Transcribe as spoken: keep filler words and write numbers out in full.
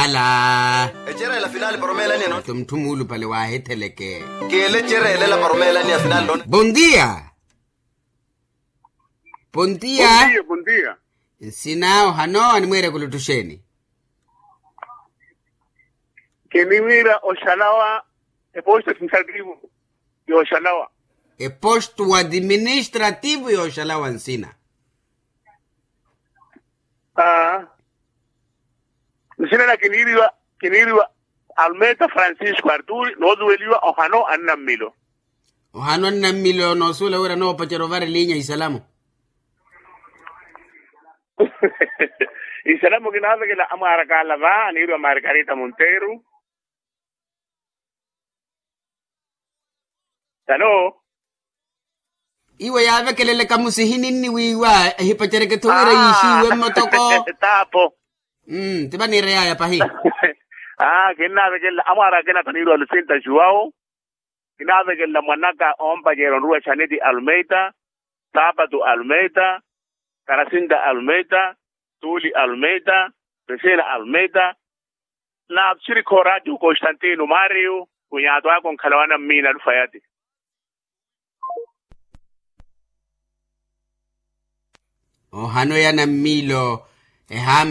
Ecerela finali para omeelaniya no. Muttu muulupale waahitheleke. Kiile ecerela para omeelaniya finali no. Bondia. Bondia. Bondia. Nsina ohano animwiire kuluttuxeeni? Kiniwiira oxalawa eposto administrativo yooxalawa. Eposto administrativo yooxalawa nsina. Aa. Nsina na kiniiriwa kiniiriwa almeta francisco arturi noosuweliwa ohano annammilo. Ohano annammilo noosuwela wira noopacerya ovara elinya isalamu. Isalamu kinaavekela amwaara kaala va aniiriwa margarita monteiro. Tano. Iwe yaavekeleleka musihininni wiiwa ehipacereketho wira yiixiiwe mmotoko. Taapo. Ti vaniireyaya pahi. Aa kinnaavekelela amwaara akina taniiriwa lucinta juwao. Kinaavekelela mwanaka oompacerya onruwa chaneti almeida, saapatu almeida, karasinta almeida, tuuli almeida, resina almeida. Na sirikho raatiyo constantino mario. Kunyaatu aka onkhala wanammiina alufayati. Ohano ya nammiilo ehaama.